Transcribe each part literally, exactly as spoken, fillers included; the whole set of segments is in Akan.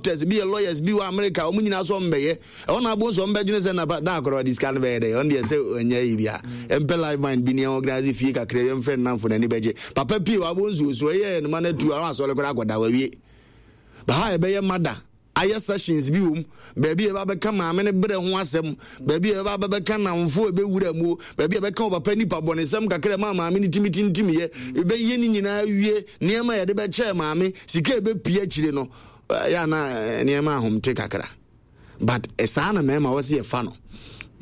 Doctors bi yɛ lawyers bi wɔ America, wɔn nyinaa so ɔmbɛyɛ ɛhɔ na abo nso ɔmbɛdwene sɛ na da akɔrɔ ɔde sika no bɛyɛ dɛ. Ɔno deɛ sɛ ɔnyɛ yi bia ɛmpɛ life mind bi ne organise fie kakra, yɛmfrɛ nnamfo n'ani bɛgye papa pie wɔ abo nsuo so ɛyɛ ne ma no atu a asɔre koraa akɔda wawie. Baha ɛbɛyɛ mada ayɛ sessions bi wɔ mu, baabi a yɛba bɛka maame no berɛ ho asɛm, baabi a yɛba bɛka namfo a ɛbɛwura mu, baabi a bɛka ɔpapa nipa bɔnesɛm kakra ma maame no timi tintim yɛ. Ɛbɛyɛ ne nyinaa wie, nneɛma a yɛde bɛkyɛɛ maame, sika a ɛbɛpie akyire no, yɛ ana nneɛma ahomte kakra. But saa na mmarima wɔ sɛ yɛfa no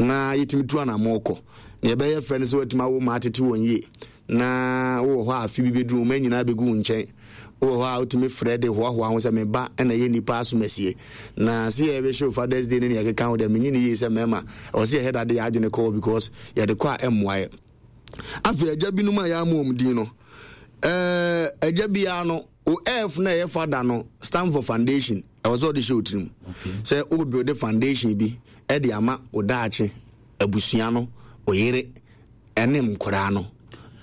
na yɛtumi tu anammɔ kɔ na yɛbɛyɛ fɛ no sɛ watumi awo ma atete wɔn yie. Na wowɔ hɔ a, afe bi bɛduru, wɔn nyinaa bɛgu wo nkyɛn. Wowɔ hɔ a, wotumi frɛ de hoahoa ho sɛ meba ɛna yɛ nnipa asomasie na sɛ yɛbɛhyɛ wo Father's Day ne ne yɛkeka ho deɛ, menye ne yie sɛ mmarima ɛwɔ sɛ yɛhɛ dade yɛ adwene kɔɔ because yɛde kɔ a ɛmmoa yɛ. Afei agya binom a yɛama wɔn din no, ɛɛ agya biara no o, F na ɛyɛ father no stand for foundation. Ɛwɔ sɛ ɔde hyɛ wo tirim sɛ wo build foundation bi ɛde ama wo daakye abusua no, o yere ɛne nkwaraa no.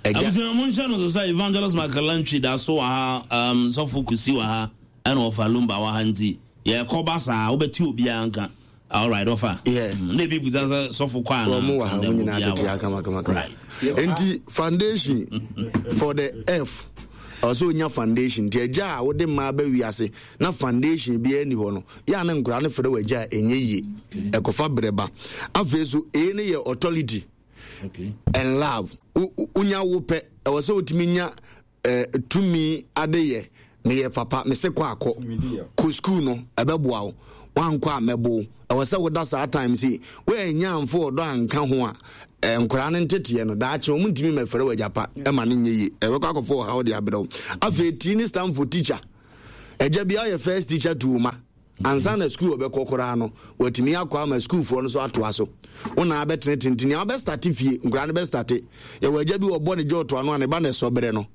Agya abusua mo nhyɛ no so sɛ Evangelist Michael Lantwi da so wɔ ha, um, Sɔfo Kusi wɔ ha, ɛna ɔfa Lumba wɔ ha, nti yɛkɔba saa wobɛte obiara nka. Alright, ɔfa. Yeah. Mm, na ebi busa sɛ sɔfo kɔ ana? Wɔn wɔ ha, wɔn nyinaa tete ha kama kama kama. Right. Nti foundation for the F, ɔwɔ sɛ onya foundation. Nti agya a wode mmaa bɛ wiase na foundation biara ni hɔ no, yɛ a ne nkwaraa no frɛ wɔ agya a ɛnyɛ yie, ɛkɔfa brɛ ba. Afei so A no yɛ authority okay. and love. Wonya wo pɛ, ɛwɔ sɛ wotumi nya eh, tumi adeyɛ. Meyɛ papa, mese kɔ akɔ kɔ school no, ɛbɛboa wo. Wankɔ a, mɛbo wo. Ɛwɔ sɛ woda saa time si woanya amfo ɔdɔ anka ho a, eh, nkoraa no nteteɛ no daakye wɔn ntumi mɛfrɛ wɔ agyapa ɛma no nyɛ yie, ɛbɛkɔ akɔfo ɔhaw de abrɛ wo. Afei T ne stand for teacher. Agya bi ayɛ first teacher to wo ma ansa na school ɔbɛkɔ koraa no, watumi akɔ ama sukuufoɔ no so atoa so. Wo na abɛtene tenten nea wobɛstart fie, nkoraa no bɛstart. Yɛwɔ agya bi wɔbɔ ne gye ɔtoa no a, ne ba na ɛsɔ berɛ no,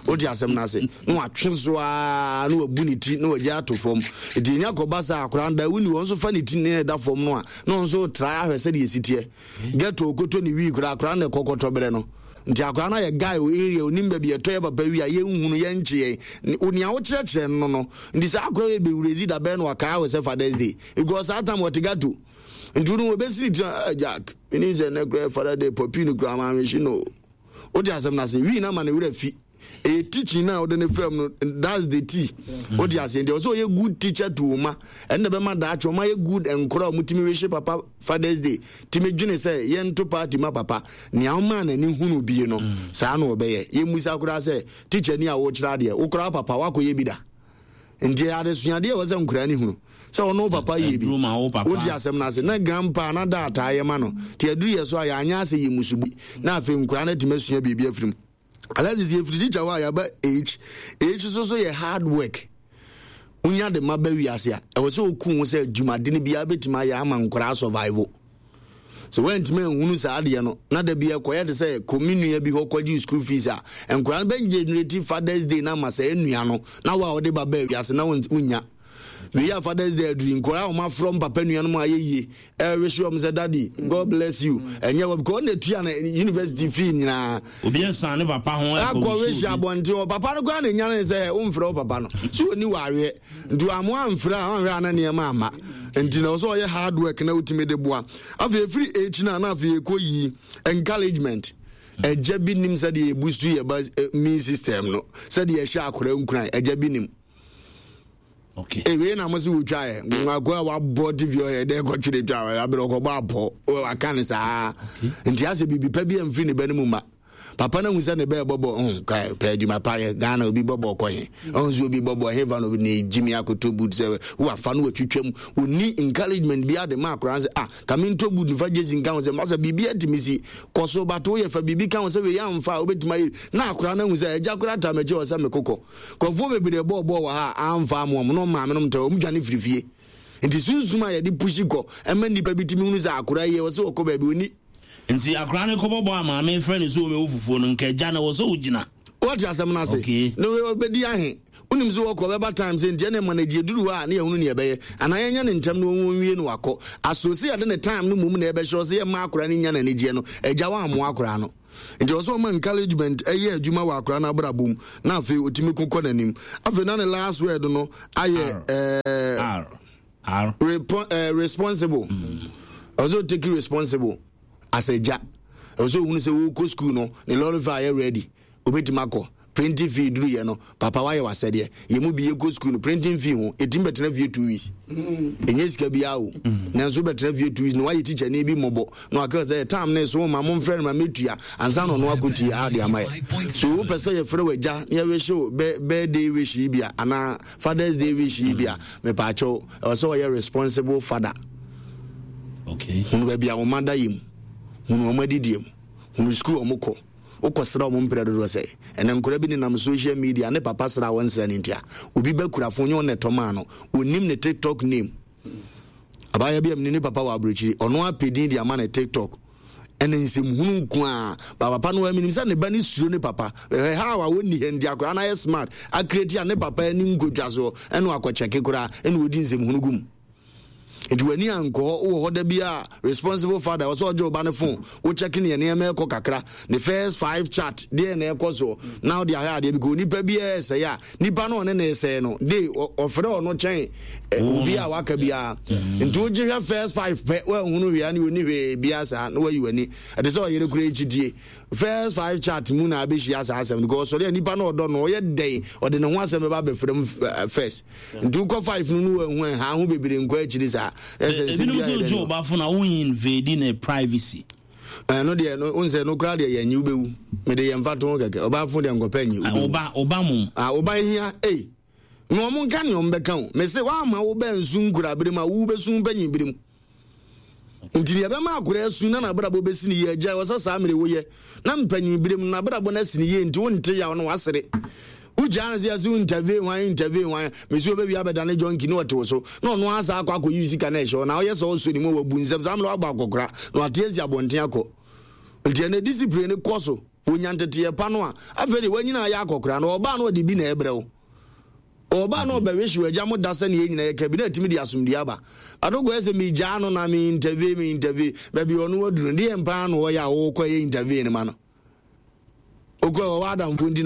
wote asɛm no ase na watwe so a na wabu ne ti na wagye ato fam. Nti ɛnya kɔba sɛ akwaraa no da woni wɔn nso fa ne ti ne ɛda fam no a, na ɔno nso tra ahwɛ sɛdeɛ ɛsi teɛ ghetto okoto ne wii koraa, akwaraa no na ɛkɔkɔtɔ berɛ no. Nti akwaraa no ayɛ guy wɔ area, onim baabi ɛtɔ yɛ papa wi a yɛnhunu yɛnkye yɛn nea wokyerɛkyerɛ no no. Nti saa akwaraa yɛ bɛwurezi da bɛn no wakaa wɔ sɛ Father's Day, because saa time wɔte ghetto. Nti no wɔbɛsiri tena, ah, Jack, menim sɛ nnɛ koraa Father Day pɔpi no koraa maame hye no. Wote asɛm no ase, wii no ama ne werɛ fi. Ɛyɛ teaching na wode ne fam no, that's the tea. Wote aseɛ? Nti ɔsɛ ɔyɛ good teacher to wo ma, ɛno na bɛma daakye ɔma yɛ good nkora a ɔmutumi wehye papa Father's Day, tumi dwene sɛ yɛnto party ma papa. Nea ɔmaa n'ani hunu bie no, saa na ɔbɛyɛ. Yɛmmusa koraa sɛ teacher ni a wokyerɛ adeɛ, wo koraa papa woakɔyɛ bi da? Nti adesuadeɛ ɛwɔ sɛ nkoraa ne hunu sɛ ɔno papa yɛ bi. Aduru ma wo papa. Wote asɛm no ase? Na grandpa na daataa yɛ ma no, nti aduru yɛ so a yɛanyɛ asɛ yɛ musu bi na afei nkoraa no atumi asua biribi afiri mu. Alexis, yɛfiri teacher hɔ a, yɛaba H. H so so yɛ hard work. Wonya de ma ba wiase a, ɛwɔ sɛ woku ho sɛ dwumade no biara bɛtumi ayɛ ama nkoraa survival. Sɛ woantumi anhunu saa adeɛ no na da bi ɛkɔyɛ te sɛ kɔmi nua bi hɔ kɔgye school fees a, nkoraa no bɛgenerate Father's Day no ama saa nua no. Na wo a wode ba baa wiase na wonnya wei a, Father's Day aduri, nkoraa a wɔafrɔ mpapa nuanom a ayɛ yie ɛwehye wɔm sɛ, "Daddy, God bless you." Ɛnyɛ wɔ because ɔna tua no university fee nyinaa. Obi nsan ne papa ho. Akɔ wehye abɔnten hɔ, papa no koraa na nya ne sɛ womfrɛ wo papa no so ɔni wareɛ. Nti wamo amfrɛ a, wanhwɛ ana nneɛma ama. Nti na ɔsɛ ɔyɛ hard work na wotumi de boa. Afei ɛfiri akyi no a, na afei ɛkɔ yi encouragement. Agya bi nim sɛdeɛ yɛboost yɛ ba immune system no, sɛdeɛ ɛhyɛ akora nkuran. Agya bi nim. Okay. Ewei na mo se wotwa yɛ akɔ a wabɔ T V ɔyɛ dɛ kɔtwere twa aberɛ ɔkɔbɔ apɔ waka ne saa. Nti asɛ biribi pa bi amfiri ne ba no mu ma papa no ahu sɛ ne bɛɛ bɔbɔ mm, ka pɛ adwuma pa yɛ. Ghana obi bɔbɔ kɔ he, ɔhu sɛ obi bɔbɔ hefa no obi ne gyimi akoto boot sɛ wafa no watwitwam. Ɔni encouragement bi ade ma akora sɛ, ah, ka mentɔ boot mfa gyesi nka ho sɛ masa biribi atumi si kɔ so bato woyɛ fa biribi ka ho sɛ wei amfa a wobɛtumi ayɛ na akora no ahu sɛ agya kora ta makyi wɔ sɛ mekokɔ kɔfoɔ bebree bɔɔbɔɔ wɔ ha a amfa amoa mu na ɔmaame nom tɛ ɔm dwane firi fie. Nti sunsum a yɛde push kɔ ɛma nnipa bi tumi hunu sɛ akora yi ɛwɔ sɛ wɔkɔ baabi ɔni. Nti akora ne kɔbɔbɔ a maame frɛ ne sɛ ɔmɛwo fufuo no, nka agya no wɔ sɛ wogyina. Wɔte asɛm no ase? Okay. Na wɔbɛdi ahe, wonim sɛ wɔkɔ bɛba time sɛ nti ɛne ma no agye duru hɔ a ne yɛhunu ne yɛbɛyɛ anaa yɛnyɛ ne ntɛm na wɔnwie no wakɔ aso sɛ yɛde ne time no mmom na ɛbɛhyɛ sɛ yɛma akora no nya n'anigyeɛ no. Agya woammoa akora no. Nti ɔsɛ ɔma encouragement ɛyɛ adwuma wɔ akora no abrabɔ mu, na afei ɔtumi ko kɔ n'anim. Afei na ne last word no ayɛ ɛɛ R R. Repo, uh, responsible. Ɔsɛ ɔtake responsible as agya. Ɔsɛ ohunu sɛ wɔkɔ school no, ne lorry fare ayɛ ready, obɛtumi akɔ. Printing fee duruyɛ no, papa wayɛ w'asɛdeɛ. Yɛ mu bi yɛkɔ school no, printing fee ho ɛtumi bɛtena fie two weeks, ɛnyɛ sika biara o, nanso wobɛtena fie two weeks na wayɛ teacher ne bi mmɔbɔ na waka sɛ tam ne so ma momfrɛ no ma mɛtua ansa na ɔno akɔtua ade ama yɛ. So wopɛ sɛ yɛfrɛ w'agya na yɛwish wo birthday wish yi bi a, anaa Father's Day wish yi bi a, mepaakyɛw, ɛwɔ sɛ ɔyɛ responsible father. Okay. Hunu baabi a wɔn ada yɛ mu, hunu wɔn adidie mu, hunu sukuu wɔn kɔ, wokɔsra wɔn mprɛ dodoɔ sɛ ɛnɛ nkora bi nenam social media ne papa sra wɔn nsra ne ntia obi bɛkura fo nyɛ ɔna ɛtɔ no, onim ne TikTok name. Abaayewa bi a mene ne papa wɔ aburokyiri, ɔno apɛ din de ama ne TikTok, ɛna nsɛmhunu nko a ba papa no aminim sɛ ne ba ne suro ne papa ɛhɛ ha a wɔnni ha, nti akwaraa no ayɛ smart acreate a ne papa ani nkotwa soɔ, ɛna wakɔkyɛke koraa ɛna wɔdi nsɛmhunu gu mu. Nti w'ani ankɔ hɔ, wowɔ hɔ da bi a responsible father ɔsɛ ɔgye wo ba ne phone, wokyɛke ne nneɛma ɛkɔ kakra, ne first five chat deɛ na ɛkɔ soɔ, na wode ahwɛ adeɛ bi kɔ nipa biara ɛsɛe a nipa no ɔne ne ɛsɛe no de ɔfrɛ ɔno kyɛn obi a waka biara. Nti wogye hwɛ first five pɛ, woanhunu hwee a ne ɔni hwee biara saa na wayi w'ani. Ɛte sɛ ɔyere kora akyidie, first five chat mu na abɛhyia saa asɛm no, because ɔsɔre a nipa no ɔdɔ no ɔyɛ dɛn ɔde ne ho asɛm bɛba abɛfrɛ mu first. Nti wokɔ five no no wahu ɛha ho bebree nkɔ akyiri saa. Ɛsɛ nsɛm ebinom bi sɛ ayɛ ogye dɛn ɔba fo na woyi invade ne privacy. Ɛno deɛ no wo sɛ no koraa deɛ yɛnyi, wobɛwu. Mede yɛn fa to ho kɛkɛ, ɔbaafo deɛ nkɔpɛ nyi, wobɛwu. Ɔba ɔba mom. Ah, ɔba hia ei na ɔmo nka nea ɔmo bɛka o. Mese woama wo bɛ nsu nkura bere mu a wobɛsu mpanyin bere mu, nti nea ɛbɛma akora asu na n'abrabɔ bɛsi ne yie agya wɔ sɛ saa mmere woyɛ na mpanyin bere mu n'abrabɔ no asi ne yie, nti wonte yaw no wasere. Wogyaa no sɛ yɛsɛ wo interview hwan, interview hwan, mesi wobɛwie abɛdane junkie ne ɔte wo so na ɔno asa akɔ akɔyi sika no ɛhyɛ hɔ na ɔyɛ sɛ ɔsɔ ne mu a wabu nsɛm saa mmerɛ wabɔ akɔkora na wate asi abɔnten akɔ. Nti ɛnɛ discipline no kɔ so, wɔnya nteteɛ pa no a, afei de wanyina ayɛ akɔkora na ɔbaa no ɔde bi na ɛbrɛ wo. Ɔbaa no ɔbɛwehye wagya mo da sɛ ne yɛn nyinaa yɛka bi na atumi de asomdue aba. Adokɔ yɛ sɛ megyaa no na me interview me interview baabi ɔno waduru no deɛ mpaa na ɔyɛ a wɔkɔ yɛ interview no ma no, okɔ ɔwɔ adamfo nti.